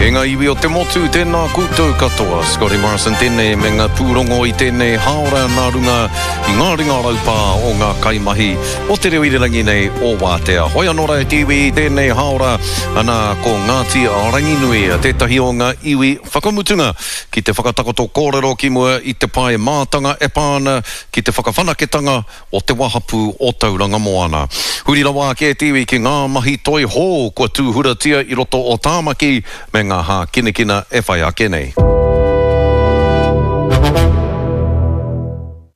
E ngā iwi o te motu, tēnā koutou katoa. Scotty Morrison tēnei me ngā pūrongo i tēnei hāora nā runga i ngā ringa raupā o ngā kaimahi o te reo irirangi nei o Wātea. Hoi anō rā e te iwi i tēnei hāora, ana ko Ngāti Ranginui tētahi o ngā iwi whakamutunga ki te whakatakoto kōrero ki mua i te pae mātanga e pā ana ki te whakawhanaketanga o te wahapū o Tauranga Moana. Huri rawa ake te iwi ki ngā mahi toi hou kua tūhuratia i roto o Tāmaki me ngā hākinakina e whai ake nei.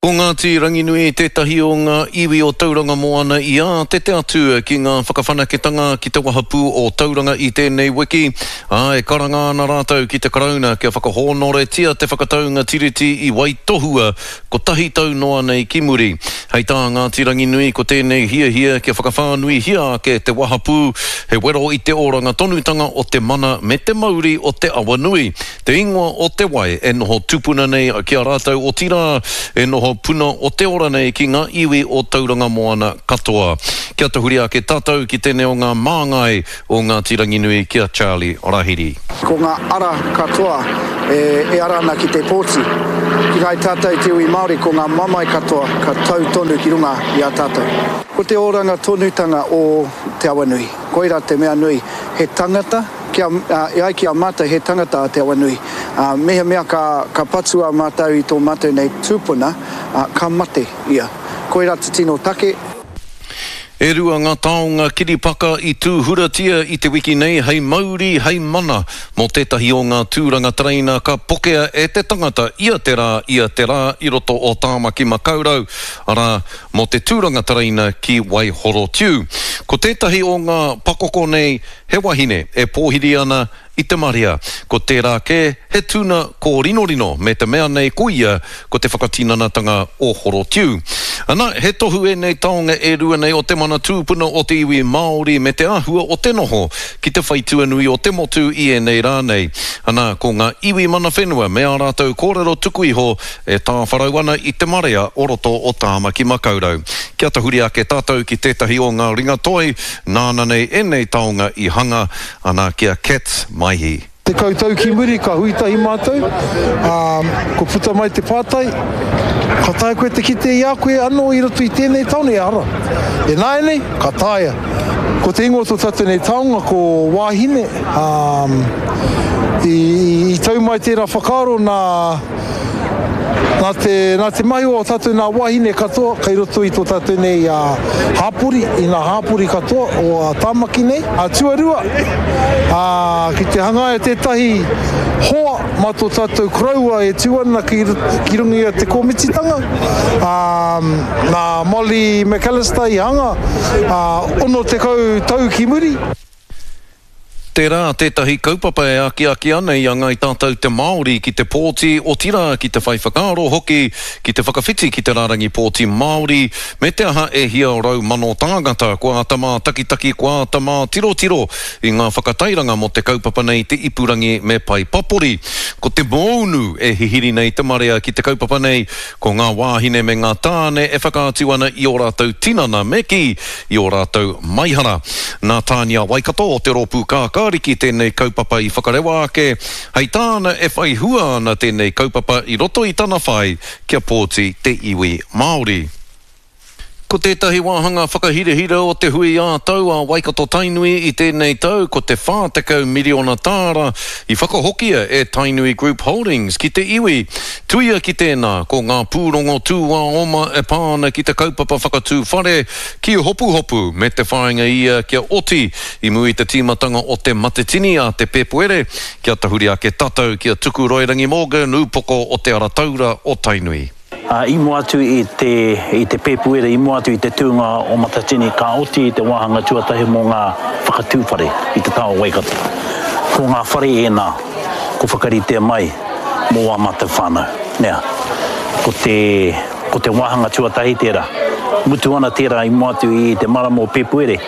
Ko Ngāti Ranginui tētahi o ngā iwi o Tauranga Moana i ātete atu ki ngā whakawhanaketanga ki te wahapū o Tauranga i tēnei wiki, ā, e karanga ana rātou ki te Karauna kia whakahōnoretia te whakataunga Tiriti i waitohua Kotahi tau noa nei ki muri. Hei tā Ngāti Ranginui ko tēnei hiahia kia whakawhānuihia ake te wahapū, he wero i te oranga tonutanga o te mana me te mauri o te awa nui, te ingoa o te wai e noho tupuna nei ki a rātou otirā, e noho puna o te ora nei ki ngā iwi o Tauranga Moana katoa. Kia tahuri ake tātou ki tēnei o ngā māngai o Ngāti Ranginui ki a Charlie Rahiri. Ko ngā ara katoa e ara ana ki te pōti. Ki kai tātou te iwi Māori ko ngā mamae katoa ka tau tonu ki runga i a tātou. Ko te oranga tonutanga o Te Awanui. Koira te mea nui. He tangata, kia, e ai ki a mātou he tangata a Te Awanui. Mehemea ka, ka patua mātou i tō mātou nei tūpuna, ka mate ia. Koira te tino take. E rua ngā taonga kiripaka i tūhuratia i te wiki nei hei mauri, hei mana mō tētahi o ngā tūranga tereina ka pokea e te tangata ia te rā, ia te rā i roto o Tāmaki Makaurau, arā, mō te tūranga tereina ki Waihorotiu. Ko tētahi o ngā pakoko nei he wahine e pōhiri ana i te marea. Ko tērā kē, he tuna kōrinorino me te mea nei ko ia ko te whakatinanatanga o Horotiu. Ana, he tohu ēnei taonga e rua nei o te mana tūpuna o te iwi Māori me te āhua o te noho ki te whaitua nui o te motu i ēnei rā nei. Ana, ko ngā iwi mana whenua me ā rātou kōrero tuku iho e tāwharau ana i te marea o roto o Tāmaki Makaurau. Kia tahuri ake tātou ki tētahi o ngā ringa toi nāna nei ēnei taonga i hanga, Ana ki a Kat Maihi. 10 tau ki muri ka hui tahi mātou, ā, kua puta mai te pātai, ka taea koe te kite i a koe anō i roto i tēnei tāone? Ehara. Ināianei, ka taea. Ko te ingoa o tō tātou nei taonga ko Wāhine, ā, i, i tau mai tērā whakaaro nā, Nā te, nā te mahi o ō tātou nā wāhine katoa kei roto i tō tātou nei hāpori, i ngā hāpori katoa o Tāmaki nei. Tuarua, ā, ki te hangaia tētahi hoa mā tō tātou koroua e tū ana ki, ki runga i a Te Kōmititanga, ā, nā Molly McAllister i hanga, ā, 60 tau ki muri. Tērā tētahi kaupapa e akiaki ana i a Ngāi Tātou te Māori ki te pōti, otirā ki te whai whakaaro hoki ki te whakawhiti ki te rārangi pōti Māori, me te aha e hia 100,000 tāngata kua āta mātakitaki, kua āta mātirotiro i ngā whakatairanga mō te kaupapa nei te ipurangi me pae papori. Ko te mōunu e hihiri nei te marea ki te kaupapa nei, ko ngā wāhine me ngā tāne e whakaatu ana i ō rātou tinana me kī, i ō rātou maihara. Nā Tānia Waikato o te Rōpū Kākāriki tēnei kaupapa i whakarewa ake, hei tāna e whai hua ana tēnei kaupapa i roto i tana whai kia pōti te iwi Māori. Ko tētahi wāhanga whakahirahira o te hui ā-tau a Waikato-Tainui i tēnei tau ko te 40 miriona tāra i whakahokia e Tainui Group Holdings ki te iwi. Tuia ki tēnā, ko ngā pūrongo tūāoma e pā ana ki te kaupapa whakatū whare ki Hopuhopu me te whāinga ia kia oti i mua i te tīmatanga o te Matetini a te Pēpuere, kia tahuri ake tatou ki a Tukuroirangi Morgan, ūpoko o Te Ara Taura o Tainui. Ā, i mua atu i te, i te Pēpuere, i mua atu i te tūnga o Matatini, ka oti te wāhanga tuatahi mō ngā whakatū whare i te taha o Waikato. Ko ngā whare ēnā ko whakaritea mai mō ā mātou whānau. Nea, ko te, ko te wāhanga tuatahi tērā. Mutu ana tērā i mua atu i te marama o Pēpuere,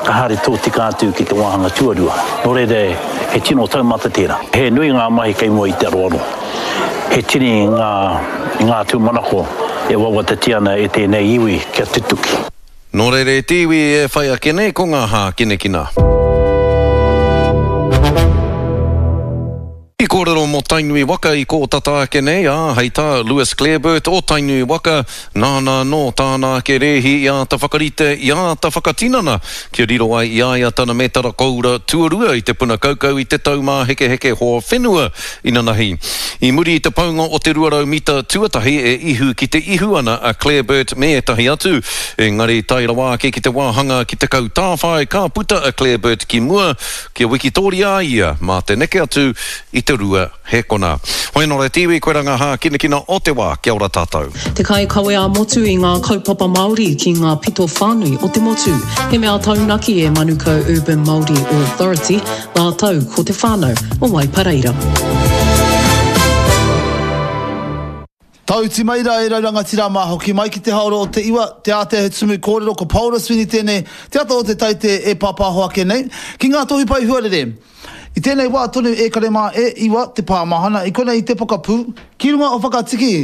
ka haere tōtika atu ki te wāhanga tuarua. Nō reira, he tino taumata tērā. He nui ngā mahi kei mua i te aroaro. He tini ngā, ngā tūmanako e wawatatia ana e tēnei iwi kia tutuki. Nō reira e te iwi e whai ake nei ko ngā hākinakina. mō Tainui waka i kō tata ake nei, ā, hei tā Lewis Clareburt o Tainui waka, nāna anō tāna ake rēhi i āta whakarite, i āta whakatinana kia riro ai i a ia tana mētara koura tuarua i te puna kaukau i te Taumāhekeheke Hoa Whenua inanahi. I muri i te paunga o te 200 mita tuatahi e ihu ki te ihu ana a Clareburt me ētahi atu, engari tae rawa ake ki te wāhanga ki te kautāwhai ka puta a Clareburt ki mua kia wikitōria a ia mā te neke atu i te rua hēkona. Hoi anō e te iwi, koirā ngā hākinakina o te wā. Kia ora tātou. Te kaikawe ā-motu i ngā kaupapa Māori ki ngā pito whānui o te motu. He mea taunaki e Manukau Urban Māori Authority rātou ko te whānau o Waipareira. Tauti mai rā e rau rangatira mā, hoki mai ki te haora o te iwa, te ātea he tumu kōrero ko Paora Sweeney tēnei, te ata o te taite e pāpāho ake nei, ki ngā tohu pae huarere. I tēnei wā tonu e kare mā e iwa te pāmahana i konei i te pokapū, ki runga o Whakatiki,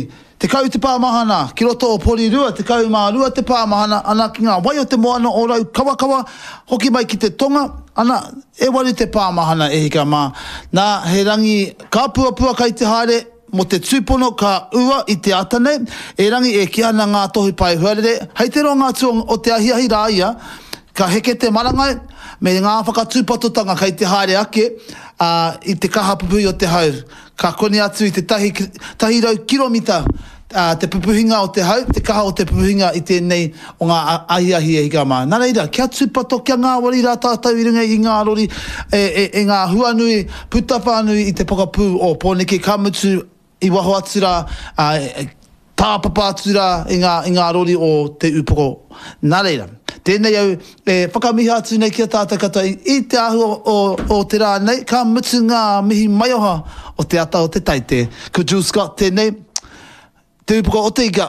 10 te pāmahana, ki roto o Porirua, 12 te pāmahana, ana ki ngā wai o te moana o Raukawakawa, hoki mai ki te tonga, ana, e waru te pāmahana e hika mā. Nā, he rangi kāpuapua kai te haere, Mō te tūpono ka ua i te ata nei, erangi e kī ana ngā tohu pae huarere, hei te roanga atu o te ahiahi rā ia, ka heke te marangai, me ngā whakatūpatotanga kei te haere ake, ā, i te kaha pupuhi o te hau. Ka koni atu i te tahi, 100 kiromita, ā, te pupuhinga o te hau, te kaha o te pupuhinga i tēnei o ngā ahiahi e hika mā. Nā reira, kia tūpato, kia ngāwari rā tātou i runga i ngā rori, e, e, e ngā huanui, puta whānui i te pokapū o Pōneke, ka mutu i waho atu rā, ā, tāpapa atu rā i ngā, i ngā rori o Te Ūpoko. Nā reira, tēnei au e whakamiha atu nei ki a tātou katoa i, i te āhua o, o te rā nei, ka mutu ngā mihi maioha o te ata o te taite. Ko Jules Scott tēnei, Te Ūpoko o te Ika.